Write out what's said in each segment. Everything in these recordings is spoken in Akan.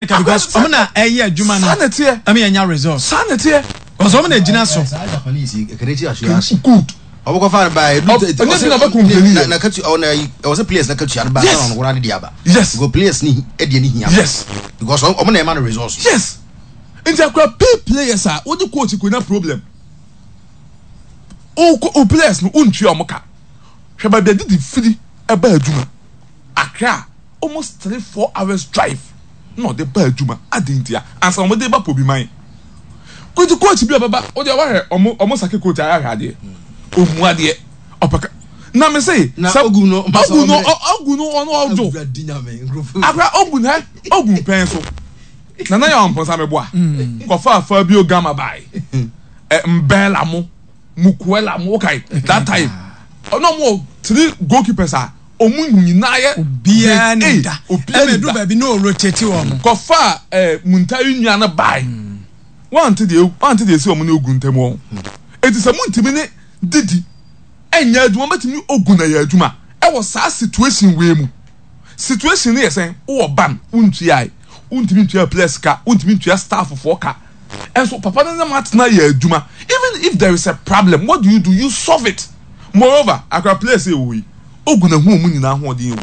Because ɔmo na ɛyɛ adwuma no ɛma yɛnya results. Saa na ɛteɛ. Because ɔmo na egyina so. Saa Japanese yi kɛnɛ kyi aso ase. Good. Ɔmo kɔ fa no ba edu. Ɔnyɛ bi na ɔbɛ complain yɛ. Na katu ɔna ɛwɔ sɛ players na katua no ba yes. Na ɔno koraa de de aba. Yes. Because players ni ɛdeɛ ni hia. Yes. Because ɔmo na ɛma no results. Yes. Nti akora pay players a wodi coach ko na problem. O o players no o ntua ɔmo ka. Hwɛ baabi a didi firi ɛba adwuma. Accra. Almost 3, 4 hours drive na ɔde ba adwuma adɛn ntia ansa na wɔde ba Pobiman nti coach bi a ɔbɛba ɔde wahwɛ ɔmo ɔmo sake coach ayɛ ahwɛ adeɛ ɔmu adeɛ ɔpɛ ka na me se na sɛ ogu no ogu no ogu no ɔno ɔdwo akora ogu no ɛ ogu pɛn so nana yɛ ɔmpɔnsa meboa kɔfa Fabio Gama bae ɛ mbɛla mo Mukuela mo okay that time ɔno ɔmo wɔ three goalkeepers a ɔmo nyinaa yɛ Obiara grade nim A da. obiara Ɛma nim ɛduru da baabi na ɔrotate wɔn. Kɔfaa ɛɛ Muntari nua no bae wante deɛ wante deɛ esi ɔmo ne Ogun ntam wɔ ho eti sɛ montumi ne Didi ɛnyɛ adwuma mobɛtumi ne Ogun ayɛ adwuma ɛwɔ saa situation wei mu situation no yɛ sɛn wowɔ ban wontuae wontumi ntua players ka wontumi ntua staff foɔ ka ɛnso papa no ne mo atena yɛ adwuma even if there is a problem what do you do you solve it moreover akora players yɛ wɔ hɔ yi Ogun ahu wɔn nyinaa ahoɔden ewu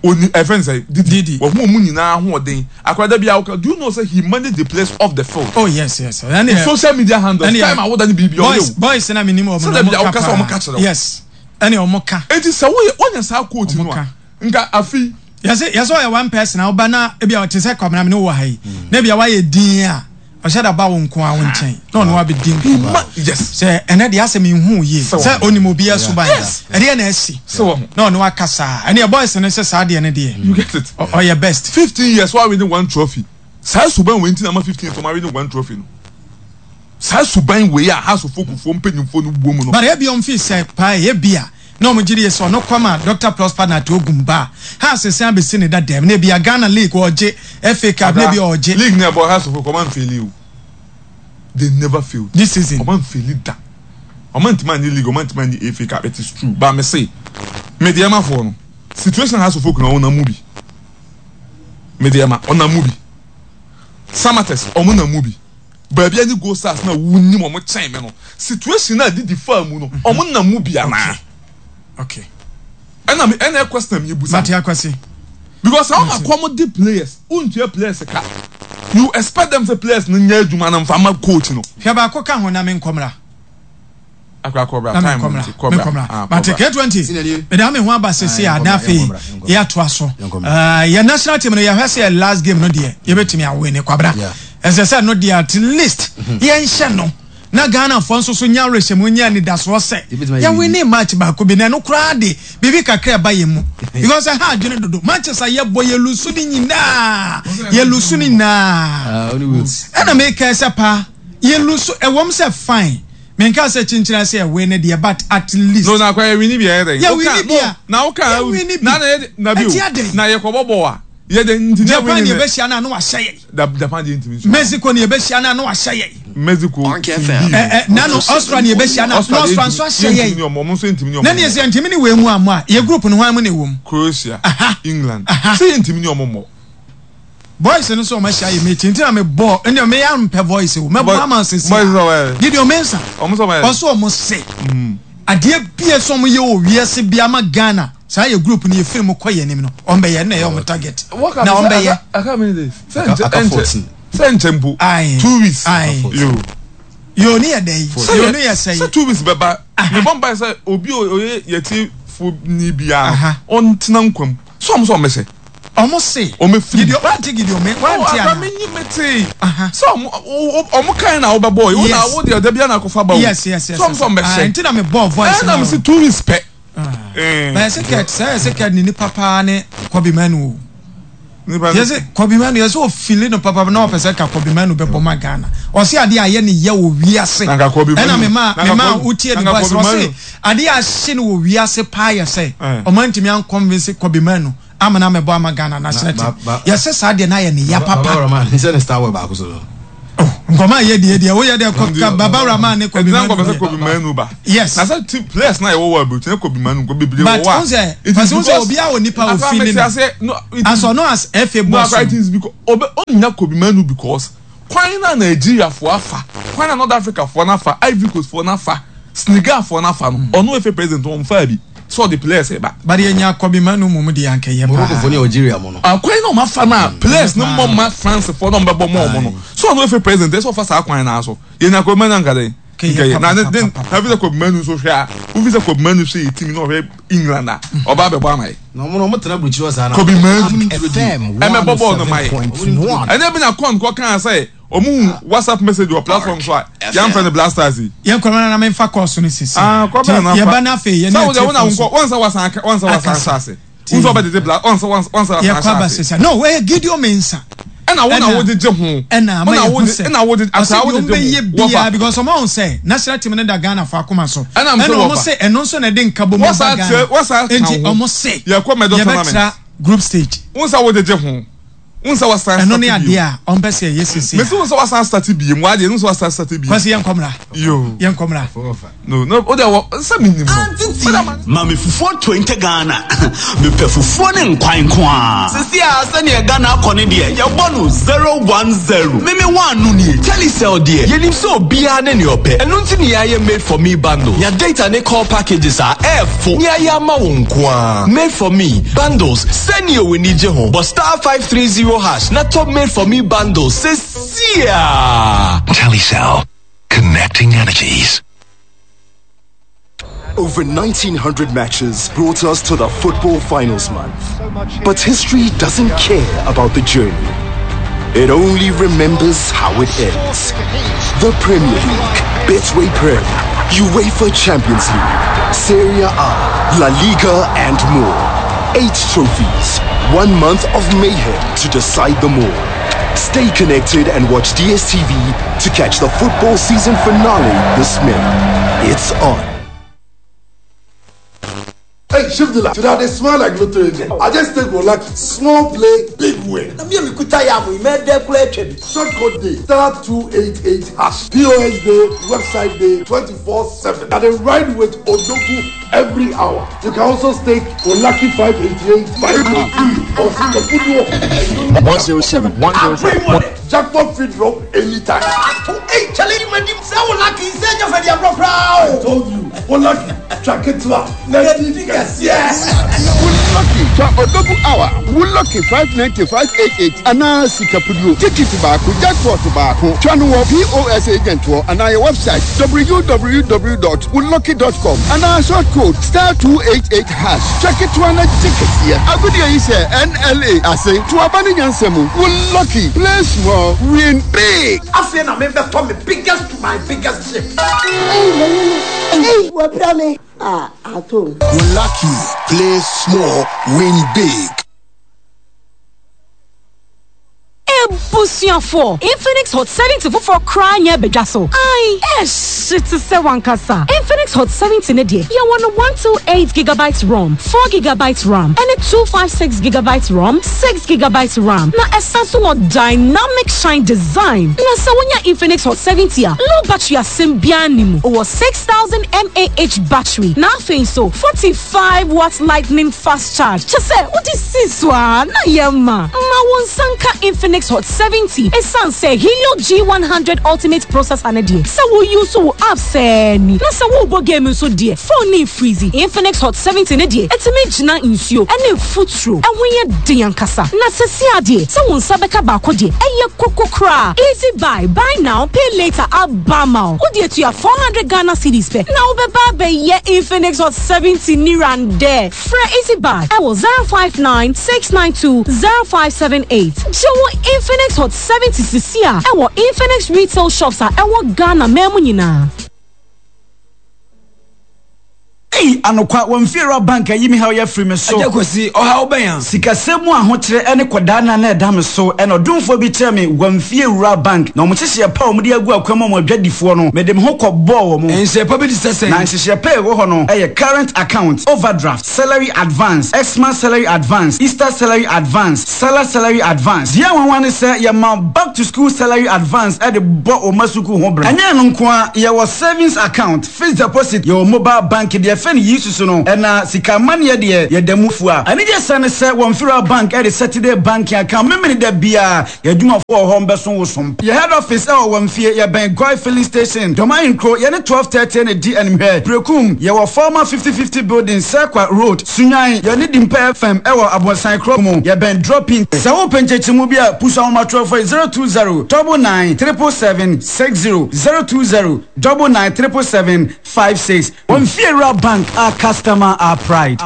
oni ɛfɛn sɛ Didi wahu wɔn nyinaa ahoɔden akora dabi awoka do you know say he manage the players off the field. Oh yes. Ɛne social media handles time awoda ne biribi ɔyɛ o. Boys na mi nim wɔn na wɔn ka paa wɔn ka kyerɛ yes ɛne wɔn ka. Eti sɛ woyɛ wɔnyɛ saa coach no a nka afi. Yɛsɛ yɛsɛ ɔyɛ one person a ɔba na ebi a ɔte sɛ Kwabena mi ne wɔ ha yi na ebi a wayɛ din a. Ɔhyɛ da ba wo nko ara wo nkyɛn na ɔne wo abɛdi nkɔmmɔ. Sɛ ɛnɛ deɛ asɛ menhu yie sɛ ɔnim obiara suban ɛdeɛ na asi na ɔne wo akasa a ɛneɛ boys no sɛ saa deɛ no deɛ You get it? ɔyɛ best. 15 years wa winning one trophy saa suban wei nti na ama 15 years ɔma winning one trophy no saa suban wei a Hearts of Oak foɔ mpanyinfoɔ no wɔ mu no. But ebia ɔmo feel sɛ paa ebia na ɔmo gye die sɛ ɔno kɔ ma Doctor Prosper Nartey Ogum ba a Hearts san besi ne dadaam na ebia Ghana league ɔɔgye FA cup na Ada ebia ɔɔgye. League na ɛbɔ Hearts of Oak ɔmo anfeeli o they never failed This season. Ɔmo anfeeli da ɔmo antumi annye league ɔmo antumi annye FA cup it is true but me se me deɛ ma foɔ no situation Hearts of Oak na ɔnam mu bi me deɛ ma ɔnam mu bi Samatex ɔmo nam mu bi. Baabi a ne Gold Stars no a wonim wɔn kyɛn me no, situation a Didi faa mu no, wɔn nam mu bi anaa? Okay. Ɛna me ɛna question mi ebusa. Mate akwasi. Because àwọn akɔm di players, wontua players ka. You expect them say players no nyɛ adwuma no nfa ma coach no. Hwɛ baako ka ho na me nkɔmra. Akora kɔbra Na time menkɔmmra, nti kɔbra. menkɔmmra. Ah, Mate kɔbra. K20, mede ame ho aba sese a na afei yɛatoa so. Yɛnkɔmmra. Eh, yɛ national team no yɛhwɛ sɛ yɛ last game no deɛ yɛbɛtumi awin kwabra. Yeah. Ɛsɛ sɛ no deɛ at least yɛnhyɛ no na Ghanafoɔ nso so nya awerɛhyɛmu nya anidasoɔ sɛ Yɛbɛtumi ayɛ yɛwini match baako bi na ɛno koraa de biribi kakra ɛba yɛn mu because ɛha adwene dodo matches a yɛbɔ yɛlusu ne nyinaa yɛlusu ne nyinaa Ah, only Wales. ɛna meka sɛ paa yɛlusu ɛwɔm sɛ fine Menkaa sɛ kyenkyena sɛ yɛ win deɛ but at least. No na akwa yɛ wini bi a yɛ dɛn. Yɛ wini bi a. Na woka Yɛ wini bi. Na na yɛ na bi o. Ɛti adɛn. Na yɛ kɔbɔ bɔ a. Yɛ dɛn nti na Japan wini yɛ ne. bɛ hyia na na wahyɛ yɛ. Da Japan deɛ ntumi nso. Mexico ne yɛ bɛ hyia na na wahyɛ yɛ. Mexico Ark team FM. B no. Ɛ ɛ na no Austria ne yɛ bɛ hyia na na Austria deɛ Austria nso ntumi ahyɛ yɛ yɛ. ntumi ne ɔmo ɔmo nso ntumi ne ɔmo Na ne yɛ mmɔ. sɛ yɛ ntumi ne wei mu ammɔ a yɛ group no hwan mu na ɛwɔ mu. Croatia, Aha. England. Aha. Sɛ yɛ ntumi ne ɔmo mmɔ. Voice no sɛ ɔmo ahyia yɛ meeting nti na me bɔ ɛnna me yɛ mpɛ voice o mɛ bɔ ama sisi a Gideon Mensah ɔsɛ ɔmo se adeɛ bie sɛ ɔmo yɛ wɔ wiase bi ama Ghana saa yɛ group no yɛ firi mu kɔ yɛ anim no ɔmo bɛyɛ ɛnna ɛyɛ ɔmo target na ɔmo bɛyɛ. Sɛ nkyɛn mpo 2 weeks yo yo ne yɛ dɛ yi yo ne yɛ sɛ yi sɛ 2 weeks bɛba ne bɔ mpa sɛ obi oyɛ yɛte fo ni biara ɔntena nkwam sɛ ɔmo sɛ ɔmo hyɛ. Ɔmo se. Ɔmo firi. Gideon wante Gideon me wante ana. Ɔmo menyi me tee. Sɛ ɔmo ɔmo kan na wobɛ bɔɔ yi. Wo na wo deɛ ɔda bia na akɔfa ba o. Yes. Sɛ ɔmo sɛ ɔmo bɛ hyɛ. Nti na me bɔɔ voice na. Ɛna me se 2 weeks pɛ. Na yɛse Kurt sɛ yɛse Kurt ne nipa paa ne Kobe Manu o. Yɛse Kobe Manu yɛse ofili no papa na ɔpɛ sɛ ka Kobe Manu bɛbɔ ma Ghana. Ɔse adeɛ a ayɛ ne yɛ wɔ wiase. Ɛna me ma me ma wotie ne voice ɔse adeɛ a ahye no wɔ wiase paa yɛ sɛ ɔmo antumi anconvince Kobe Manu amena mɛbɔ ama Ghana national team. Yɛse saa deɛ no ayɛ ne ya papa. Baba Rahman sɛ ne star boy baako so no. Oh, nkɔmɔ a yɛ deɛ deɛ woyɛ deɛ kɔ ka baba rahman ne Kobbie Mainoo. Ɛdina nkɔmɔ sɛ Kobbie Mainoo ba. Yes. Na sɛ ti players na yɛ wɔ wɔ aburukyire ne Kobbie Mainoo nkɔ bebree wɔ hɔ a. But n sɛ pasi n sɛ obi a wɔ nipa ofi ne no. As ɔno as FA boss. No akora it is because obe onya Kobbie Mainoo because kwan na Nigeria fo afa kwan na North Africa foɔ nafa Ivory Coast foɔ nafa Senegal foɔ nafa no ɔno FA president wɔn fa bi. Sɛ ɔde players reba. But yɛ nya Kobbie Mainoo mom deɛ anka ɛyɛ paa. Morocco foɔ ne Algeria mo no. Akwan na ɔmo afa no a players no mmɔ mma France foɔ na ɔmo bɛbɔ ma ɔmo no. So ɔno efe president ɛsɛ ɔfa saa kwan no ara so. Yɛ nya Kobbie Mainoo anka dɛn? Nka yɛ. Na ne den na fi sɛ Kobbie Mainoo nso hwɛ a wofi sɛ Kobbie Mainoo hwɛ yɛ team na ɔhwɛ England a ɔba abɛbɔ ama yɛ. Na ɔmo no ɔmo tena aburukyiri hɔ saa na. Kobbie Mainoo ɛmɛbɔ bɔɔl no ma yɛ. Ɛnyɛ bi na Con kɔ kaa sɛ. Ɔmo hu WhatsApp message wɔ platform so a yɛnfrɛ no Blasters yi. Yɛn kɔ na me nfa course no sisi. Ah, kɔ bɛn na fa. Yɛba na afei yɛn ne atiefo so. Wɔn nsa wasan aka, wɔn nsa wasan ahyɛ ase. Wɔn nsa ɔbɛgyegye bla, wɔn nsa wɔn nsa wasan ahyɛ ase. Yɛkɔ aba sisi. No, ɛyɛ Gideon Mensah. Ɛna wo na wo gyegye ho. Ɛna ama yɛ hu sɛ. Ɛna wo gyegye asa wo gyegye ho. Wɔfa. Because ɔmo ahun sɛ national team no da Ghana fo akoma so. Ɛna mo sɛ wɔfa. Ɛna ɔmo sɛ ɛno nso na ɛde nkabom ba Ghana. Wɔsa ka ho. Enti ɔmo sɛ. Yɛkɔ medal tournament. Yɛbɛtra group stage. Wɔn nsa wo gyegye ho. Wohu sɛ wasan Ɛno ne starte adeɛ bio. a ɔmpɛ sɛ yɛyɛ seesei Mese a. wohu sɛ wasan starte bio. W'adeɛ no wohu sɛ wasan starte bio. Kwasi yɛnkɔ mmra. Yoo. Yɛnkɔ mmra. No, no, wo deɛ wɔ, sɛ menim no. Auntie Wo deɛ ma. Ma me fufuo 20 Ghana. Mepɛ fufuo ne nkwan nko ara. Sisi a sɛdeɛ Ghana akɔ no deɛ, yɛbɔ no 0 1 0. Me me one no nie. Telecel deɛ, yɛnim sɛ obiara ne nea ɔpɛ. Ɛno nti na yɛayɛ Made for Me bundle. Nya data ne call packages a ɛɛfo na yɛayɛ ama wo nko ara. Made for Me bundles, sɛnea w'ani gye ho. Bɔ *530# na tɔ Made for Me bundles seesei ara. Telecel, connecting energies. Over 1900 matches brought us to the football finals month. But history doesn't care about the journey. It only remembers how it ends. The Premier League, Betway Prem, UEFA Champions League, Serie A, La Liga, and more. Eight trophies, one month of mayhem to decide them all. Stay connected and watch DSTV to catch the football season finale this May. It's on. Hey, Shifdila, today I smile like lotto agent. I just take one lucky. Small play, big win. Na mi a mekuta yam yi, mɛdɛ kura atwa bi. Short code day, *288#. POS day, website day, 24/7. And then ride with Odogu every hour. You can also stake for Lucky 588, 503, or Sikapuduo. 107, 107. Jackpot free drop anytime. Hey, Charlie, you made him say lucky. Say you for the abro I told you, Lucky, track it up. Yes. Lucky twa Odogu hour wo lucky 590 588 anaa sikapuduo tikiti baako jackpot baako twa no wɔ POS agent wɔ anaa yɛ website www.wolucky.com anaa short code *288# twa ketewa na gye kɛseɛ agodie yi sɛ NLA ase to aba ne nyansa mu wo lucky, play small, win big. Afei na mebɛtɔ me biggest to my biggest ship. Ei, m'ani Ei, wapira me. Ah, atom. Lucky, play small, win big. Ebusuafoɔ, Infinix Hot 70 foforɔ koraa nyɛ abadwa so. Ae, ɛhye te sɛ wankasa. Infinix Hot 70 ne deɛ, yɛwɔ no 128 gigabytes ROM, 4 gigabytes RAM, ɛne 256 gigabytes ROM, 6 gigabytes RAM. Na ɛsan so wɔ dynamic shine design. Na sɛ wonya Infinix Hot 70 a, low battery asɛm biara nni mu. Wɔ 6000 mAh battery. Na afei nso, 45 watt lightning fast charge. Kyɛ sɛ wode si so a na yɛ ma. Ma wo nsa nka Infinix Hot 70 ɛsiane sɛ Helio G100 Ultimate processor no deɛ, sɛ wo use wo app sɛɛ ni. Na sɛ worebɔ game nso deɛ, phone no mfreeze. Infinix Hot 70 no deɛ, ɛtumi gyina nsuo ne mfuturo. Ɛho yɛ den ankasa. Na sɛsi adeɛ, sɛ wo nsa bɛka baako deɛ, ɛyɛ koko koraa. Easy buy, buy now, pay later aba ma wo. Wode atua 400 Ghana cedis pɛ na wobɛba abɛyɛ Infinix Hot 70 nirandɛ. Frɛ Easy Buy ɛwɔ 059 692 0578. Gye wo Infinix Hot 70 sisi a ɛwɔ Infinix retail shops a ɛwɔ Ghana man mu nyinaa. Ei anokwa wɔn fiewura bank ayi me haw yi afiri me so. Agya Kwasi, ɔhaw bɛn a? Sikasɛm mu ahokyerɛ ɛne kɔdaanna na ɛda me so ɛna ɔdomfoɔ bi kyerɛɛ me wɔn fiewura bank na wɔn nhyehyɛɛ pa a wɔde agu akwan mu ama adwadifoɔ no mede me ho kɔ bɔɔ wɔn. Nhyehyɛɛ pa bi te sɛ sɛn? Na nhyehyɛɛ pa a ɛwɔ hɔ no yɛ current account, overdraft, salary advance, Xmas salary advance, Easter salary advance, Salah salary advance. Deɛ nwanwa ne sɛ yɛma back to school salary advance de bɔ wo mma sukuu ho bra. Ɛnyɛ ɛno nko ara, yɛwɔ savings account, fixed deposit, yɛwɔ mobile banking, deɛ yɛfrɛ no Yisusu no, ɛna sika amanneɛ deɛ yɛda mu fua. Anigyesɛm ne sɛ wɔ Mfiriwa Bank de Saturday banking account Memeneda biara Yɛn adwumafo wɔ hɔ mbɛso wo som. Yɛ head office ɛwɔ Wamfie, yɛbɛn Goil filling station, Dɔm Ahenkuro, yɛne 12:30 na ɛdi animhwɛ. Berekum, yɛwɔ former 50:50 building, Serkwa road, Sunyani, yɛne Dimpa FM ɛwɔ Abonsan kuro mu, yɛbɛn Drop-in. Sɛ wopɛ nkyɛkyerɛmu bi a, pusu ahomatorɔfoɔ yi 020 99 777 60, 020 99 777 56. Wamfie Rural Bank, our customer, our pride.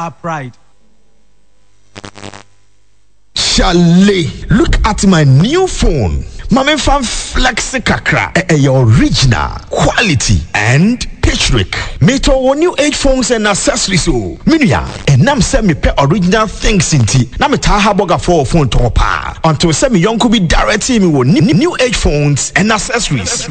Chale, look at my new phone. Ma memfa mflexe kakra. Ɛyɛ original, quality and patrick. Metɔ wɔ New Age phones and accessories o. Me nua, ɛnam sɛ mepɛ original things nti, na metaa ha bɔgafoɔ wɔ phone tɔn paa. Until sɛ me yɔnko bi directee me wɔ New Age phones and accessories.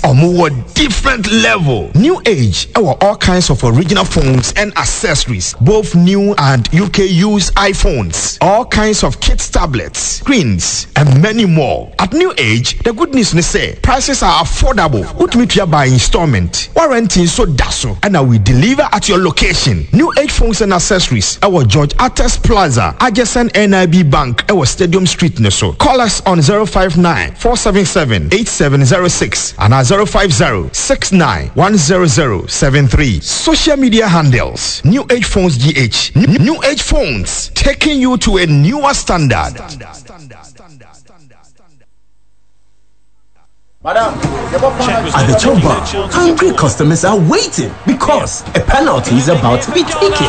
Ɔmo wɔ different level. New Age wɔ all kinds of original phones and accessories, both new and UK used iPhones, all kinds of kids tablets, screens and many more. At New Age, the good news ne sɛ prices are affordable, wotumi tua by installment, warranty nso da so ɛna we deliver at your location. New Age Phones and Accessories ɛwɔ George Artes Plaza, adjacent NIB Bank ɛwɔ Stadium Street no so. Call us on 059 477 8706 anaa 050 69 100 73. Social media handles, New Age Phones GH. New Age Phones, taking you to a newer standard. At the chop bar, hungry customers are waiting because a penalty is about to be taken.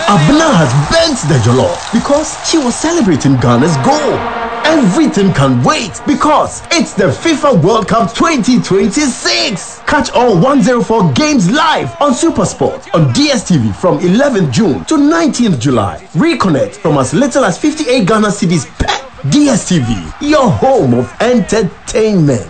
Abna has bent the jollof because she was celebrating Ghana's goal. Everything can wait because it's the FIFA World Cup 2026. Catch all 104 games live on Supersport on DSTV from 11th June to 19th July. Reconnect from as little as 58 Ghana cedis per DSTV, your home of entertainment.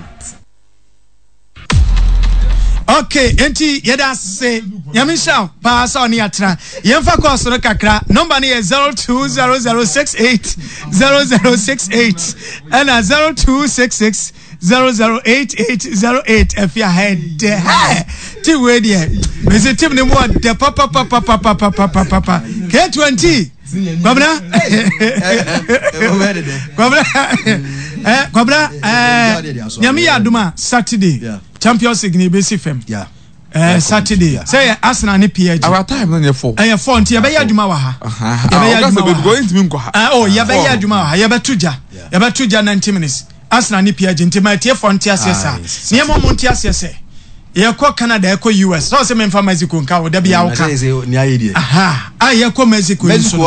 Okay, enti yɛda ase nyame nhyira wo paa sɛ ɔne yɛatena yɛmfa kɔɔso no kakra nɔmba no yɛ 0200680068 ɛna 0266 008808 afi aha ɛdɛ hɛ tim wei deɛ mese tim no mu ɔdɛ papapapapapapapapa k20 kwabena kwabena eh, kwabena eh, nyame yɛ adom a saturday champions league ne ɛbɛsi fam eh, saturday sɛ yɛ arsenal ne psg our time no yɛ fɔ ɛyɛ fɔ nti yɛbɛyɛ adwuma wɔ ha yɛbɛyɛ adwuma wɔ ha oh yɛbɛyɛ adwuma wɔ ha yɛbɛto gya yɛbɛto gya 90 minutes Arsenal ne PSG nti ma atiefoɔ nte aseɛ saa nneɛma ɔmo nte aseɛ sɛ yɛkɔ Canada yɛkɔ US sɛ ɔsɛ memfa Mexico nka wo da bi a woka aha a yɛkɔ Mexico yi so no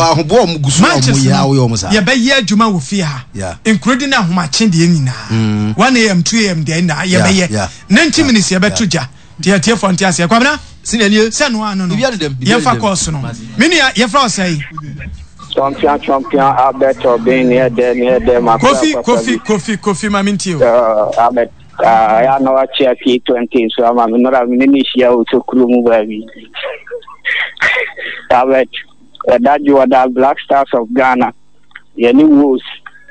matches no yɛbɛyɛ adwuma wɔ fie ha nkurodi ne ahomakye deɛ nyinaa 1 am 2 am deɛ nyinaa yɛbɛyɛ 90 minutes yɛbɛto gya nti atiefoɔ nte aseɛ Kwabena sɛ no ano no yɛmfa kɔɔso no me nua yɛfrɛ wo sɛe Champion champion Albert Obeng neɛ dɛ neɛ dɛ ma Kofi Kofi Kofi Kofi ma mintie o. Albert ya na wakyea K20 nso ama me nora me ne ne hyia wɔ sokuro mu baabi. Albert ɛda dwoɔda Black Stars of Ghana yɛne Wolves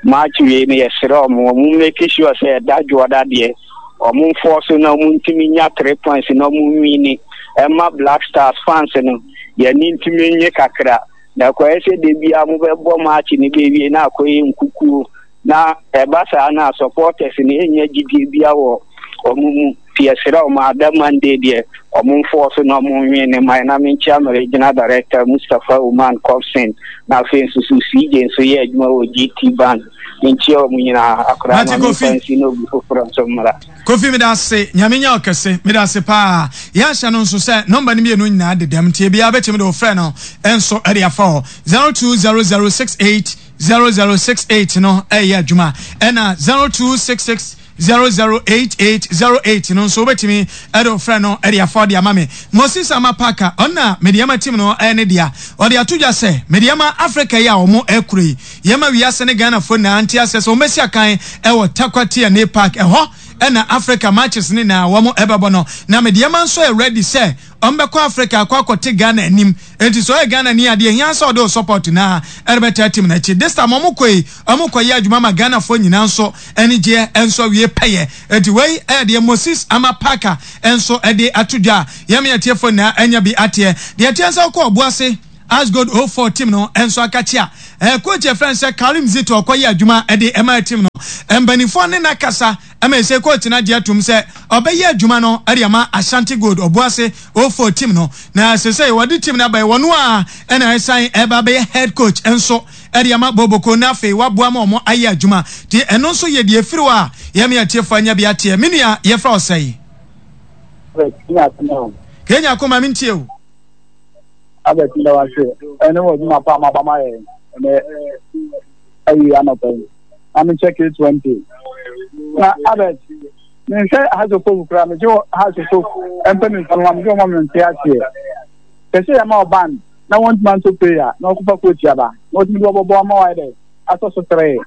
match wei no yɛsrɛ ɔmo ɔmo make sure sɛ ɛda dwoɔda deɛ ɔmo mfɔɔ so na ɔmo ntumi nya three points na ɔmo nwini ɛma Black Stars fans no yɛne ntumi nye kakra. Na ɛkɔyɛ sɛ da biara mobɛbɔ match no bɛwie na akɔyɛ nkukuo na ɛba saa no a supporters no ɛnnya gyidie bia wɔ wɔn mu nti yɛsrɛ wɔn ada Monday deɛ wɔn mfɔɔ so na wɔn nwe ne man na menkyia me regional director Mustapha Oman Cobson na afei nso so CJ nso yɛ adwuma wɔ GT Bank menkyia wɔn nyinaa akora ma memfa nsi na obi foforɔ nso mmra. Kofi medase Nyame nyɛ wo kɛse medase paa yɛahyɛ no nso sɛ number no mienu nyinaa dedam nti ebiaa bɛtumi de wo frɛ no nso de afa hɔ 0200680068 no ɛyɛ adwuma ɛna 0266. 008808 no nso wobɛtumi de wo frɛ no de afa de ama me. Moses Ama Parker, ɔno na Medeama team no ne dea. Ɔde ato dwa sɛ Medeama Africa yi a wɔn rekoro yi, yɛma wiase ne Ghanafoɔ nyinaa nte aseɛ sɛ wɔbɛsi akan wɔ Tarkwa TNA Park. Ɛhɔ na Africa matches no nyinaa wɔn bɛbɔ no. Na Medeama nso yɛ ready sɛ wɔbɛkɔ Africa akɔ akɔte Ghana anim. Enti sɛ ɔyɛ Ghana ni a, deɛ ɛhia sɛ ɔde wo support no ara rebɛtaa team no akyi. This time wɔn kɔ yi, wɔn kɔ yɛ adwuma ma Ghanafoɔ nyinaa nso anigyeɛ nso awie pɛyɛ. Enti wei yɛ deɛ Moses Ama Parker nso de ato dwa a yɛn me atiefoɔ nyinaa anya bi ateɛ. Deɛ ɛteɛ sɛ wokɔ Ɔboase Asgold 04 team no nso akakye a, eh, coach yɛfrɛ no sɛ Karim Zito ɔkɔyɛ adwuma de ɛma team no. Mpanimfoɔ ne no akasa ma ɛsɛ coach no agye atom sɛ ɔbɛyɛ adwuma no de ama Ashanti Gold Ɔboase 04 team no. Na sesei wɔde team no aba yi, wɔn a ɛna ɛsan ɛba bɛyɛ head coach nso de ama Boboko na afei waboa ma wɔn ayɛ adwuma. Nti ɛno nso yɛ deɛ ɛfiri hɔ a yɛn atiefoɔ anya bi ateɛ. Me nua yɛfrɛ wo sɛn? Kenya Koma mentie o. Albert meda wo ase ɛne wɔ adwuma pa a moaba ma yɛn ɛnɛ awie anɔpa yi. Na mekyɛ K20. Na Albert, menhwɛ Hasofof koraa, megye Hasofof mpanimfoɔ no ma megye wɔn ma mente aseɛ. Sɛ sɛ yɛma ɔban na wɔntumi anto prayer na wɔkɔfa coach aba na wɔtumi de wɔbɔbɔ ama wɔayɛ dɛ asɔ so tere.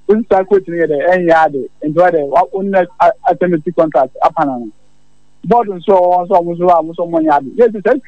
Wosi saa coach no yɛ dɛ ɛnyɛ ade nti wɔyɛ dɛ wɔn asɛmti contract apana no. Board nso a wɔn nso wɔn nso a wɔn nso wɔn nyɛ ade. Yɛ sɛ saa sika.